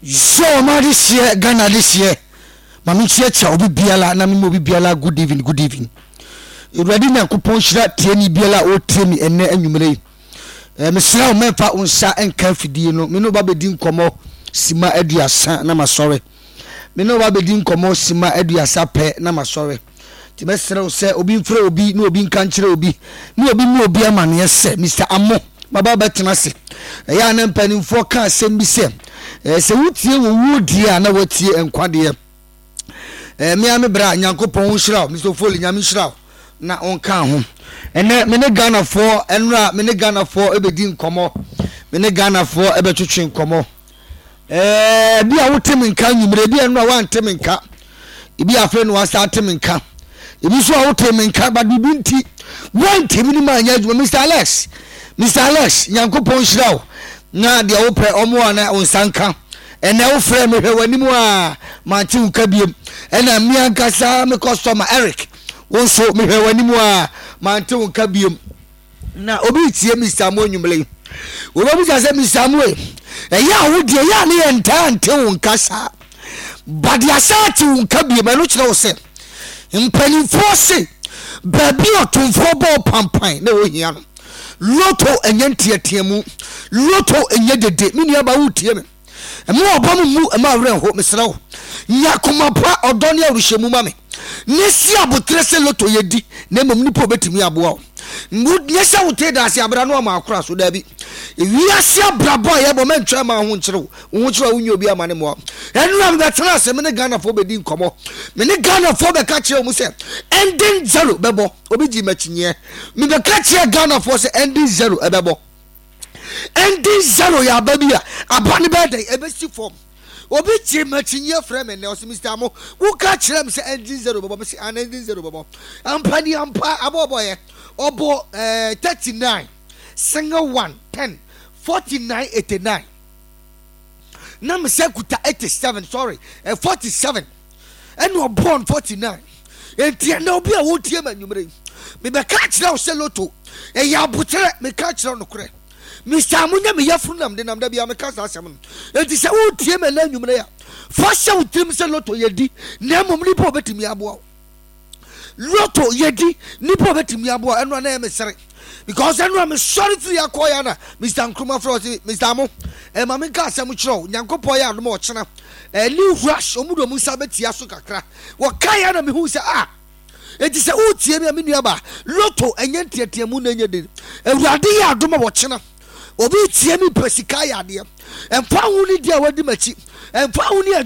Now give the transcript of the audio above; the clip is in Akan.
Sɛ ɔma adehyeɛ, Ghana adehyeɛ, ma menkyiakyia obi biara na mema obi biara good evening, good evening. Awurade Nyankopɔn nhyira tieni biara a ɔretie me ɛnnɛ anwummerɛ yi. Eh, mesrɛ wo mɛmfa wo nsa nka afidie no, me ne wo ba bɛdi nkɔmmɔ sima 30 na masɔre. Me ne wo ba bɛdi nkɔmmɔ sima 30 pɛ na masɔre. Nti mɛsrɛ wo sɛ obi mfrɛ obi na obi nka nkyerɛ obi na obi mmɔ obi amaneɛ sɛ Mister Amo maba bɛtena ase. Ɛyɛ a na mpanimfoɔ ka asɛm bi sɛ, eh, sɛ wotie wɔ wuo deɛ a na woatie nkwa deɛ. Eh, me a me bra, Nyankopɔn nhyira wo. Mr. Ofoli, Nyame nhyira wo na ɔnka ho. Ɛnɛ me ne Ghanafoɔ, ɛnora me ne Ghanafoɔ ɛbɛdi nkɔmmɔ. Me ne Ghanafoɔ ɛbɛtwetwe nkɔmmɔ. Ɛɛ, ebi a wote me nka anwummere, ebi a nnora woante me nka, ebi afei na wasa ate me nka, ebi nso a wote me nka, but biribi nti woantumi ne ma anyɛ adwuma. Mr. Alex, Mr. Alex, Nyankopɔn nhyira wo na deɛ wopɛ ɔmo a na wo nsa nka. Ɛnɛ wofrɛ me hwɛ w'anim a mante wo nka biem. Ɛna me ankasa me customer Eric, wo nso mehwɛ w'anim a mante wo nka biem. Na obi retie Mister Amoe anwummere yi. Wobɛbisa sɛ, Mister Amoe, ɛyɛ a wo deɛ ɛyɛ a ne yɛ ntaa nte wo nka saa. But deɛ asan ate wo nka biem, ɛno kyerɛ wo sɛ mpanimfoɔ se baabi a ɔtomfoɔ bɔɔ pampan na ɛwɔ hia no. Loto ɛnyɛ nteateamu. Loto ɛnyɛ dede. Me nuabaa woretie me. Mma w'aba mu mmu, mma wo werɛ nho, mesrɛ wo. Nya koma pa, ɔdɔ ne awerɛhyɛmu ma me, na si aboterɛ sɛ loto yɛ di, na mmom nipa a ɔbɛtumi aboa wo. Nyɛ sɛ wotee daase abra no ama akora so, daabi. Wiase abrabɔ a yɛbɔ, mɛntwa mma wo ho nkyere wo, wo ho kyere wo a wonnya obi ama ne mmoa wo. Ɛnora mebɛtena ase, me ne Ghanafoɔ bɛdi nkɔmmɔ, me ne Ghanafoɔ bɛka kyerɛ wɔn sɛ ending zero bɛbɔ, obi gyee m'akyinyeɛ, mebɛka kyerɛ Ghanafoɔ sɛ ending zero ɛbɛbɔ. Ending zero yɛ aba bi a aba no bɛyɛ dɛn ɛbɛsi fam. Obi gye m'akyinnyeɛ frɛ me nnɛ ɔse Mister Amo woka kyerɛ me sɛ ending zero bɛbɔ me se an ending zero bɛbɔ ampa ni ampa abɔ ɔbɔyɛ ɔbɔ eh, 39 single 1 10 49 89 na me sɛ kuta 87 sorry eh, 47 ɛna ɔbɔɔ no 49 enti ɛnɛ obi a wotie ma anwummerɛ yi mebɛka kyerɛ wo sɛ loto ɛyɛ aboterɛ meka kyerɛ wo nokorɛ Mr. Mo nyɛ me yafunu nam de nam da bia meka saa asɛm no enti sɛ wotie ma ɛnɛ anwummerɛ a fa hyɛ wo tirim sɛ loto yɛdi na mmom nipa obɛtumi aboa wo Lotto yɛdi nipa obetumi aboa ɛno a na ɛyɛ me sere because ɛno a mesɔre firi akɔ ya na Mr Nkrumah frɛ ɔse Mr Amo ɛma me nka asɛm kyerɛ wo Nyankopɔn yɛ adom a ɔkyena ɛne rush ɔmo de ɔmo nsa bɛtia so kakra wɔka ya na mehu sɛ ah enti sɛ wotie me a me nua ba lotto ɛnyɛ nteateamu na ɛnyɛ den Awurade yɛ adom a wɔkyena obi tie me pɛ sika yɛ adeɛ ɛmfa ho ne di a wadi m'akyi ɛmfa ho ne adwuma.